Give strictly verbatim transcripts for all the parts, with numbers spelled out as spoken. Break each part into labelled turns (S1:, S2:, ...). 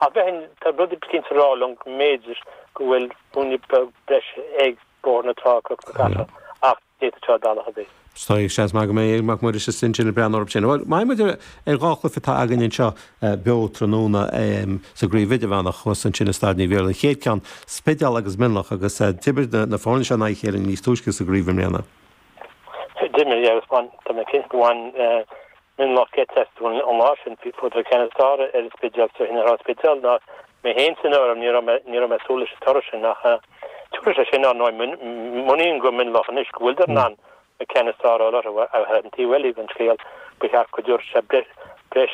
S1: Ach bheinn, tá rud eicínt ag rá liom go mb'fhéidir go bhfuil ruainne beag breise ag Bóthar na Trá, Cnoc na Cathrach, ach d'fhéadfadh sé bealach ar bith.
S2: Tá seans maith go mbeidh Mac Muiris is ansin ag breathnú orthu sin. Bhuel, maith muid ar dhá chluiche atá againn anseo beo tráthnóna sa gcraobh idirmheánach thuas ansin i Staid Naomh Iarlaith. An chéad ceann, Spidéal agus Mionlach agus d'imir na foirne seo in aghaidh a chéile níos túisce sa gcraobh i mbliana.
S1: D'imir, agus bhain, tá mé cinnte go bhain Mionlach geit astu an lá sin, fuaireadar ceann is fearr ar an Spidéal so ar an Spidéal ná mé féin san áireamh, ní raibh mé, ní raibh mé ag súil leis an toradh sin ach tabharfaidh sé sin ar ndóigh muinín go Mionlach anois go bhfuiltear in ann an ceann is fearr a fháil orthu ach ar an taobh eile den scéal ba cheart go dtabharfadh sé breis, breis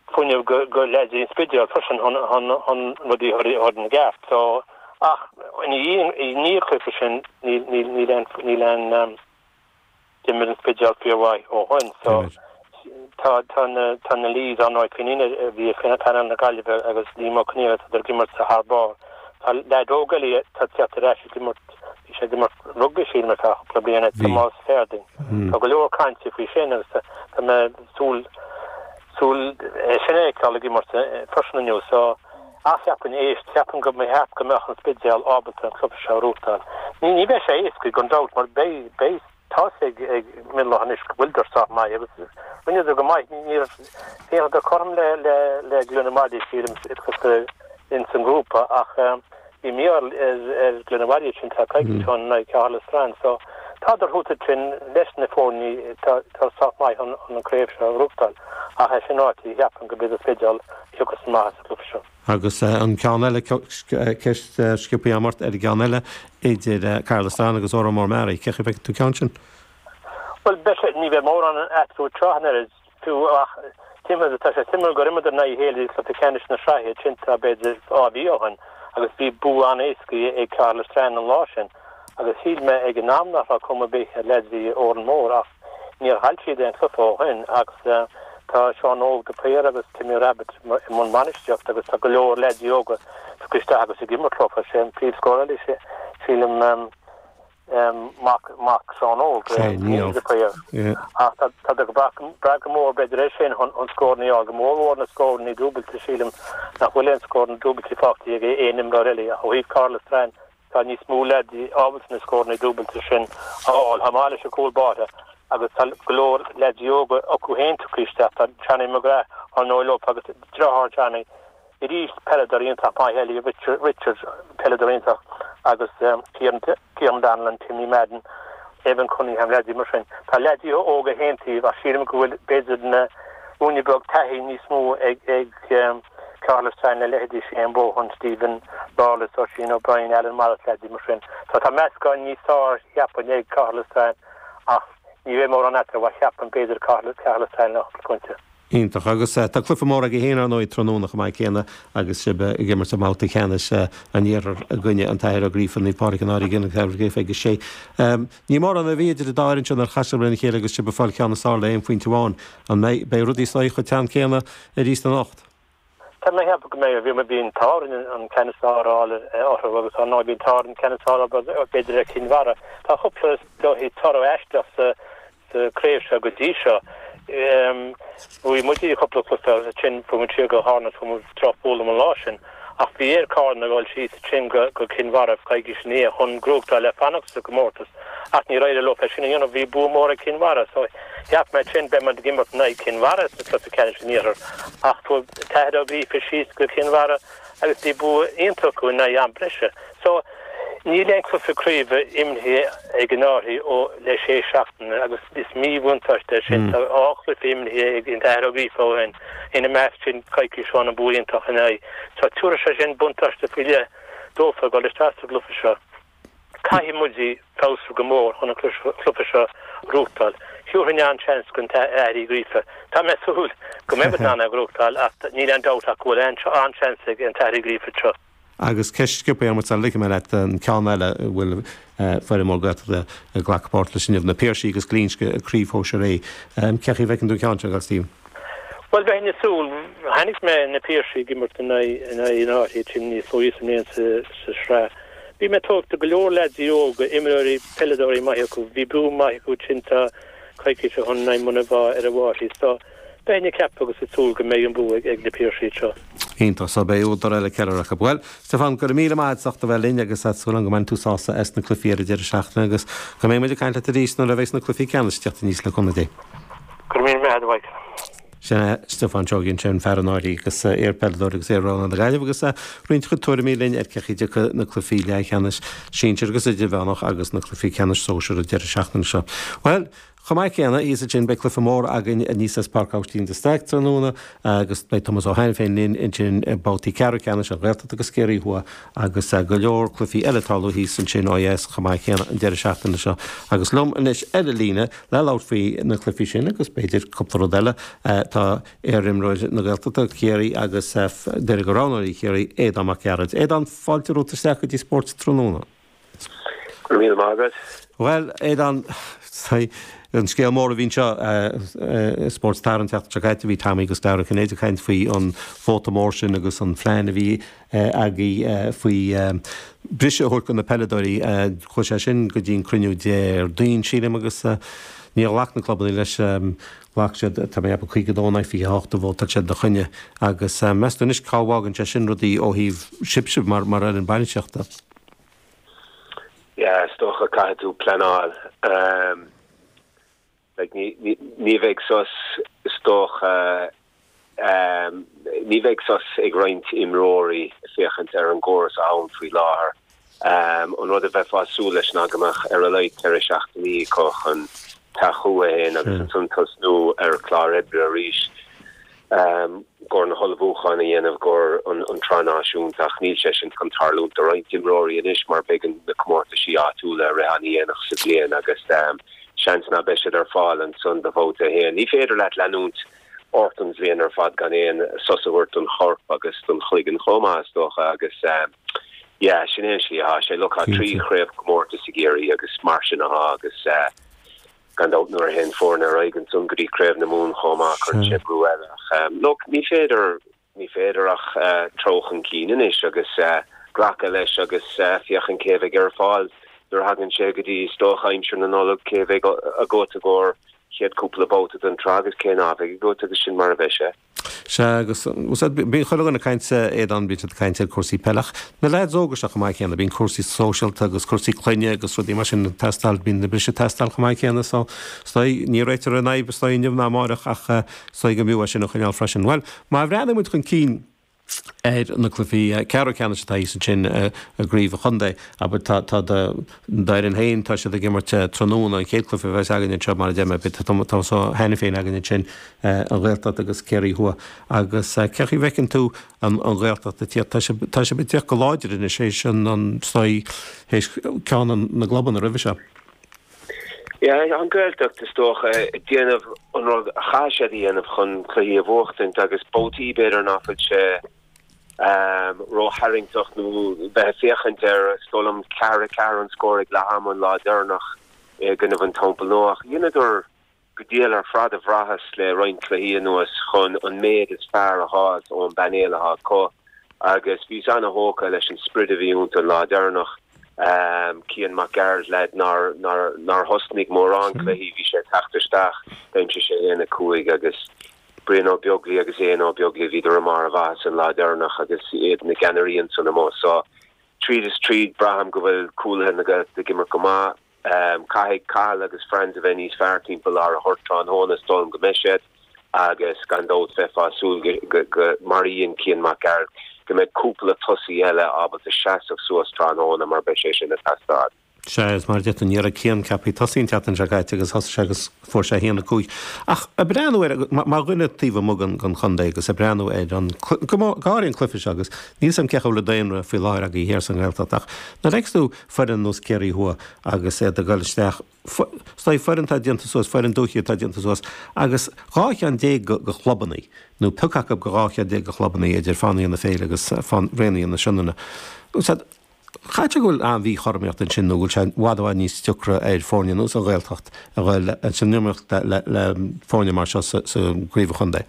S1: fuinneamh go, go leaids an Spidéil freisin chun, chun, chun rudaí a chur ina gceart. So, ach ina dhiaidh, i ndiaidh an chluiche sin níl, níl, níl aon, níl aon, D'imir an Spidéal fíormhaith ó shoin so tá tá na tá na Lees ar ndóigh Finghin a bhí ar phainéal na Gaillimhe agus Liam Ó Conghaile tá ag imirt thar barr. Tá leaid óg eile atá ag teacht ar ais ag imirt bhí sé ag imirt rugbaí sílim ar feadh cúpla bliain Tomás Fairding. Tá go leor cainte faoi sin agus tá tá mé súil súil é sin a fheiceáil ag imirt freisin inniu so ach cheapfainn éist cheapfainn go mba cheart go mbeadh an Spidéal ábalta an cluiche seo a ghnóthachtáil. Ní ní bheidh sé éasca gan dabht mar beidh beidh Tá's ag Mionlach anois go bhfuiltear sách maith agus rinneadar go maith. Ní raibh bhíodar cothrom le le le Gleann na Mhaidí sílim ins an ngrúpa ach bhí mí-ádh ar ar Ghleann na Mhaidí sin tá coicís ó shin in aghaidh Caherlistrane so tádar thuas ansin leis na foirne tá tá sách maith chun an craobh seo a ghnóthachtáil ach é sin ráite cheapfainn go b'iad an Spidéal a thiocfas amach as an gcluiche seo.
S2: Agus an ceann eile, ceist sciobtha agam ort ar an gceann eile idir Caherlistrane agus Órán Mór Meáraí. Cén chaoi a bhfeiceann tú an ceann sin?
S1: Bhuel, beidh sé, ní bheidh mórán eatarthu tráth an oiread, fiú, ach timpeall, tá sé suimiúil gur imríodar in aghaidh a chéile i gcluiche ceannais na sraithe ansin tá b'fhéidir dhá mhí ó shin agus bhí bua an-éasca ag Caherlistrane an lá sin agus shíl mé ag an am nach raibh cuma ar bith ar leaids Órán Mór ach níor chaill siad aon chluiche ó shin agus Tá Seán Óg de Paor agus Timmy Rabbitte i mbun bainistíochta agus tá go leor leaids óga tugtha isteach agus ag imirt leo. Sé an príomhscórálaí, sílim, mac mac Seán Óg, Niall de Paor. Ach tá ag brath go mór b'fhéidir air sin chun scóranna a fháil, go mórmhór na scóranna dúbailte. Sílim nach bhfuil aon scóranna dúbailte faighte ag aon imreoir eile ach ó thaobh Caherlistrane tá níos mó leaids ábalta na scóranna dúbailte sin a fháil. Chomh maith leis an gcúl báire agus tá go leor leaids óga acu féin tugtha isteach. Tá Johnny McGrath ar ndóigh leo agus deartháir Johnny arís, peileadóir iontach maith eile, Richard, Richard, peileadóir iontach agus Ciaran, Ciaran Donnellan, Timmy Madden, Evan Cunningham, leaids mar sin. Tá leaids óga ag aon taobh ach sílim go bhfuil b'fhéidir na ruainne beag taithí níos mó ag, ag Caherlistrane le leithéidí Shane Bohan, Stephen Lawless, Oisín O'Brien, Alan Morris, leaids mar sin. So tá meascán níos fearr cheapfainn ag Caherlistrane ach ní bheidh mórán eatarthu ach cheapfainn b'fhéidir Caherlistrane le cúpla pointe.
S2: Iontach. Agus tá cluiche mór agaibh féin ar ndóigh tráthnóna chomh maith céanna agus sibh ag imirt i mbabhta ceannais an Iarthair i gcoinne an tAthair Ó Gríofa, Naomh Pádraig an Fhairche, an tAthair Ó Gríofa ag a sé. Ní mórán a bhí idir an dá fhoireann seo nuair a chas sibh lena chéile agus sibh ag fáil ceann is fearr le aon phointe amháin. An mbeidh beidh rudaí is dóigh chomh teann céanna arís anocht?
S1: Tá mé ag ceapadh go mbeidh. Bhí bhí an t-ádh orainn an ceann is fearr a fháil orthu agus ar ndóigh bhí an t-ádh orainn an ceann is fearr a fháil b'fhéidir ar Chinn Mhara. Tá cúpla dóigh toradh aisteach sa sa chraobh seo go dtí seo. Bhuaigh muid cúpla cluiche agus ansin fuair muid siar go Carna fuair muid drochbhualadh an lá sin. Ach bhí ar Carna a dhul síos ansin go go Cinn Mhara coicís ina dhiaidh chun gnóthachtáil le fanacht sa gcomórtas. Ach níor éirigh leo é sin a dhéanamh, bhí bua mór ag Cinn Mhara. So cheap mé ansin beidh muid ag imirt in aghaidh Cinn Mhara sa chluiche ceannais an Iarthair. Ach fuair Cathair Ó Gríofa síos go Cinn Mhara agus bhí bua iontach acu in aghaidh am breise. So níl aon chluiche craoibhe imeartha ag an Fhairche ó le sé seachtaine agus is míbhuntáiste é sin. Tá dhá chluiche imeartha ag an Athair Ó Gríofa ó shin, ina measc sin coicís ó shin an bua iontach in aghaidh. So tabharfaidh sé sin buntáiste faoi leith dófa ag dul isteach sa gcluiche seo. Caithfidh muid feabhsú go mór chun an cluiche seo a ghnóthachtáil. Thabharfainn an-seans don Athair Uí Ghríofa. Tá mé ag súil go mbeidh muid in ann é a ghnóthachtáil ach níl aon dabht ach go bhfuil an-seans ag an tAthair Uí Ghríofa anseo.
S2: Agus ceist sciobtha agam ort sula ligfidh mé leat an ceann eile a bhfuil foireann mór Gaeltachta ag glacadh páirt leis inniu, Na Piarsaigh agus Glinsce i gCraobh Shóisir A. Cén chaoi a bhfeiceann tú an ceann seo, a Stephen?
S1: Bhuel, bheinn ag súil, chonaic mé na Piarsaigh ag imirt in aghaidh an Fhairche ansin níos luaithe sa mbliain sa sraith. Bhí mé tógtha, go leor leaids óga, imreoirí, peileadóirí maithe acu. Bhí bua maith acu ansin tá coicís ó shin in aghaidh Muine Mheá ar an bhFairche. So, Beinn ag ceapadh agus ag súil go mbeidh an bua ag na Piarsaigh seo.
S2: Iontach, so beidh údar eile ceiliúradh acu. Bhuel, Stiofán, go raibh míle maith agat as ucht a bheith linn agus tá súil agam go mbainfidh tú sásamh as na cluichí ar an deireadh seachtaine agus go mbeidh muid ag caint leat arís nuair a bheidh na cluichí ceannais ag teacht aníos le cúnamh Dé.
S1: Go raibh míle maith agat, a Mhichael.
S2: Sin é Stiofán Seoighe ansin, fear an Áirí agus iar-pheileadóir agus iar-rogha na Gaillimhe agus roinnt a chuid tuairimí linn ar cé chaoi a dtiocfaidh na cluichí leathcheannais sinsir agus idirmheánach agus na cluichí ceannais sóisir an deireadh seachtaine seo. Bhuel, chomh maith céanna, thíos ansin beidh cluiche mór againn aníos as Páirc Aibhistín de Staic tráthnóna agus beidh Tomás Ó hAiniféin linn ansin i mbabhtaí ceathrú ceannais an Ghaeltacht agus Ciarraí Thuaidh agus go leor cluichí eile ag tarlú thíos ansin ó dheas chomh maith céanna an deireadh seachtaine seo. Agus liom anois ar an líne le labhairt faoi na cluichí sin agus b'fhéidir cúpla rud eile tá iarimreoir na Gaeltachta, Ciarraí agus duine de roghnóirí Chiarraí, Aodán Mac Gearailt. Aodán, fáilte romhat isteach go dtí Spórt Tráthnóna.
S3: Go raibh míle maith agat.
S2: Bhuel, Aodán, an scéal mór a bhí anseo i Spórt Tar an tseachtain seo caite, bhí Tommy agus Dara Cinnéide ag caint faoi an vóta mór sin agus an phlean a bhí agaibh faoi briseadh a thabhairt do na peileadóirí. Chuaigh sé sin go dtí an cruinniú Déardaoin, sílim, agus níor ghlac na clubanna leis. Ghlac siad, tá mé ag ceapadh, caoga a dó in aghaidh fiche a hocht a vótáil siad ina choinne. Agus meas tú anois cá bhfágann sé sin rudaí ó thaobh sibhse mar mar fhoireann bainistíochta?
S3: Yeah, is dócha caithfidh tú pleanáil. Like ní ní ní bheidh sos is dócha ní bheidh sos ag roinnt imreoirí féachaint ar an gcóras ann faoi láthair. An rud a bheifeá ag súil leis ná go mbeadh ar a laghad ceithre seachtainí acu chun teacht chucu féin agus ansan tosnú ar chlár oibre arís. i gcomhair na hullmhúcháin a dhéanamh i gcomhair an tsraith náisiúnta ach níl sé sin chun tarlúint do roinnt imreoirí anois mar beidh na comórtaisí áitiúla ag rith an-dhéanach sa bhliain agus seans ná beidh siad ar fáil ansan do bhabhta a haon. Ní féidir leat leanúint ort an bhliain ar fad gan aon sos a thabhairt don chorp agus don chloigeann chomh maith is dócha agus yeah sin é an slí atá sé. Look tá trí chraobhchomórtas ag Ciarraí agus mar sin atá agus Gan dabht nuair a théann foirne ar aghaidh ansan go dtí Craobh na Mumhan chomh maith cuireann sé brú eile ach look ní féidir, ní féidir ach treo chun cinn anois agus glacadh leis agus féachaint cé a bheidh ar fáil nuair a thagann sé go dtí is dócha aimsir na Nollag, cé a bheidh agat i gcomhair chéad cúpla babhta den tsraith agus cé ná beidh agat agus sin mar a bheidh sé.
S2: Sea, agus bíonn chuile dhuine ag caint, Aodán, bíonn siad ag caint ar cúrsaí peile ach na leaids óga seo chomh maith céanna, bíonn cúrsaí sóisialta agus cúrsaí clainne agus rudaí mar sin ag teastáil, bíonn na briseadh ag teastáil chomh maith céanna so is dóigh, ní réiteofar an fhadhb is dóigh inniu ná amáireach ach is dóigh go mb'fhiú é sin a choinneáil freisin. Bhuel, má bhreathnaíonn muid chun cinn, ar na cluichí ceathrú ceannais atá thíos ansin i gcraobh an chontae. Abair, tá tá do d'fhoireann féin, tá siad ag imirt tráthnóna, an chéad cluiche a bheas againn anseo, mar a deir mé, beidh Tomás Ó hAiniféin againn ansin, an Ghaeltacht agus Ciarraí Thuaidh. Agus cé chaoi a bhfeiceann tú an an Ghaeltacht ag tíocht? Tá sibh tá sibh ag tíocht go láidir anois théis an an is dóigh théis ceann na gclubanna roimhe seo.
S3: Yeah, an Ghaeltacht is dócha ag déanamh an rud a chaithfidh siad a dhéanamh chun cluichí a bhuachtaint agus babhtaí b'fhéidir ná fuil sé ró-tharraingteach nó bheith ag féachaint air, is dóigh liom ceathair a ceathair an scór ag leath ama an lá deireanach i gcoinnibh an Teampall Nua ach dheineadar go diail ar fad a bhraitheas le roinnt cluichí anuas chun an méid is fearr a dh'fháilt ón bpainéal atá acu agus bhíos ana-thógtha leis an sprid a bhí iontu an lá deireanach. Cian Mac Gearailt, leaid nár nár thosnaigh mórán cluichí, bhí sé ag teacht isteach, d'aimsigh sé aon a cúig agus Brian Ó Beaglaoi agus Éanna Ó Beaglaoi, bhíodar i mbarr a mhaitheasa an lá deireanach agus iad na gceannairí ansan amuigh. So, tríd is tríd, braithim go bhfuil cúlaithe na Gaeltachta ag imirt go maith. Caithfidh Cathal agus Franz a bheith níos fearr timpeall lár an ghoirt tráthnóna, is dóigh liom go mbeidh siad, agus gan dabht bheifeá ag súil go, mar a dhein Cian Mac Gearailt, go mbeidh cúpla tosaí eile ábalta seasamh suas tráthnóna mar beidh sé sin ag teastáil.
S2: Sea, is mar a deir tú, ní raibh Cian ceaptha ag tosaí an tseachtain seo caite agus thosaigh sé agus fuair sé a haon a cúig. Ach ag breathnú air, mar dhuine taobh amuigh den chontae agus ag breathnú ar an, go háirithe an cluiche seo agus níl 's a'm cé chomh le daonra faoi láthair agaibh thiar sa nGaeltacht ach nuair a fheiceas tú foireann nós Ciarraí Thuaidh agus iad ag dul isteach, is dóigh foireann atá déanta suas, foireann dúiche atá déanta suas agus dhá cheann déag de chlubannaí, nó pioc acu go dhá cheann déag de chlubannaí idir Fánaithe na Féile agus Raonaithe na Sionainne. Caithfidh sé go bhfuil an-mhíchothromaíocht ansin nó go bhfuil sé i bhfad i bhfad níos deacra ar foirne nós an Ghaeltacht a dhul san iomaíocht le le foirne mar seo sa gcraobh an chontae.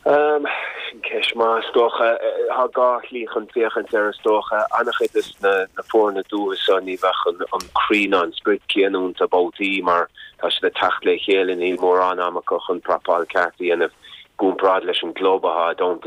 S3: Sin Ceist maith is dócha tá dhá shlí chun féachaint air is dócha an-chuid des na na foirne dúchais seo ní bheadh an an croí ná an sprid céanna iontu babhtaí mar tá siad ag teacht le chéile níl mórán ama acu chun prapáil ceart a dhéanamh i gcomparáid leis an gclub atá i dteannta